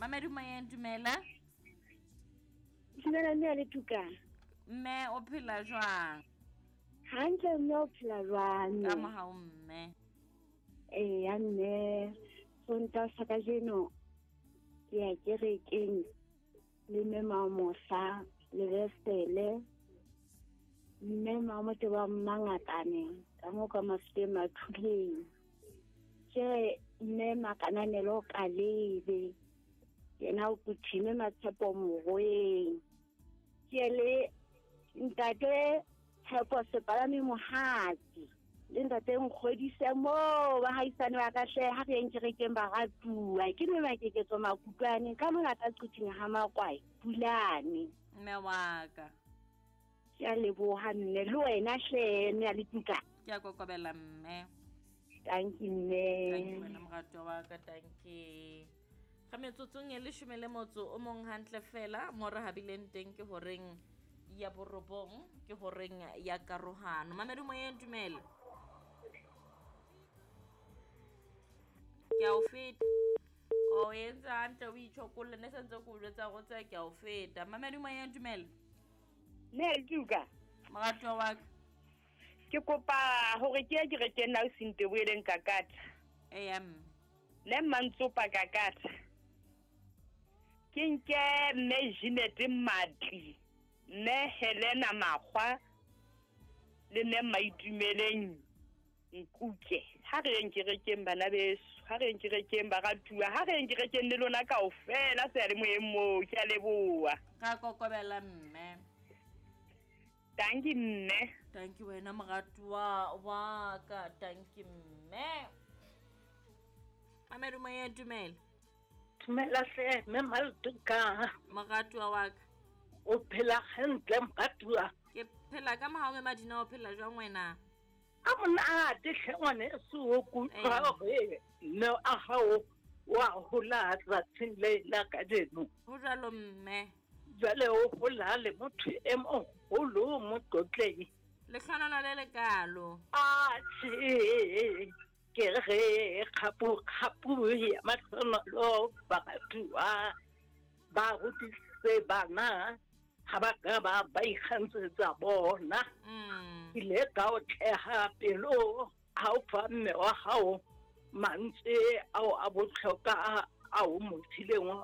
Mamedi moyeng, dumela. Dumela mme le tuka. Mme o phela jwang? Hantle mme, o phela jwang? Ka mohau mme. Eya mme, Sontaha sa kajeno ke ya kerekeng le mme Mamosa le Besele, mme Mamote ba Mmangatane ka mo ka Mafuteng Mathuleng. Ke mme Makananelo Kalebe, yena o kuthime Matshepo Mogoeng. Ke le ntate Tshepo Sepalami Mohatsi le ntate Nkgodise moo ba haisane ba ka hle ha re yeng kerekeng ba ratuwa. Ke mme Makeketso Makutlwane ka mona ka Quthing ha Makwai Pulane. Mme wa ka. Ke a leboha mme, le wena hle mme a le tuka. Ke a kokobela mme. Thank you mme. Thank you wena moratwa wa ka, thank you. Ga metsotsong e leshome le motso o mong hantle fela mo re habileng teng ke horeng ya borobong, ke horeng ya karohano. Mamedi moyeng, dumela. Ke a o feta. O entse hantle o itjhokolle, ne sentse ke o jwetsa go tse ke a o feta. Mamedi moyeng, dumela. Ne tuka. Moratwa wa ka. Ke kopa hore ke ye kerekeng na o sinte boeleng kakata. Eya mme. Ne mmantsopa kakata. Ke nke mme Jeanette Matli, mme Helena Makgwa le mme Maitumeleng Nkuke. Ha re yeng kerekeng bana beso, ha re yeng kerekeng baratuwa, ha re yeng kerekeng le lona kaofela seyalemoyeng moo. Ke a leboha. Ra kokobela mme. Thank you mme. Thank you wena moratuwa wa ka, thank you mme. Mamedi moyeng, dumela. Dumela hle mme Maltuka. Moratuwa wa ka. O phela hantle moratuwa? Ke phela ka mohau mme Madina, o phela jwang wena? A monate hle ngwaneso, o kutlwa hore mme a hao wa hola tsatsing le la kajeno. Ho jwalo mme. Jwale o hola le motho e moholo motlotleng. Lehlohono le lekalo. Atjhe, ke re kgapu kgapu ya mahlonolo baratuwa ba rutisitse bana ha ba ka ba ba ikgantsetsa bona. Ile ka otleha pelo ha o fa mme wa hao mantswe ao a bohlokwa ao mo fileng ona.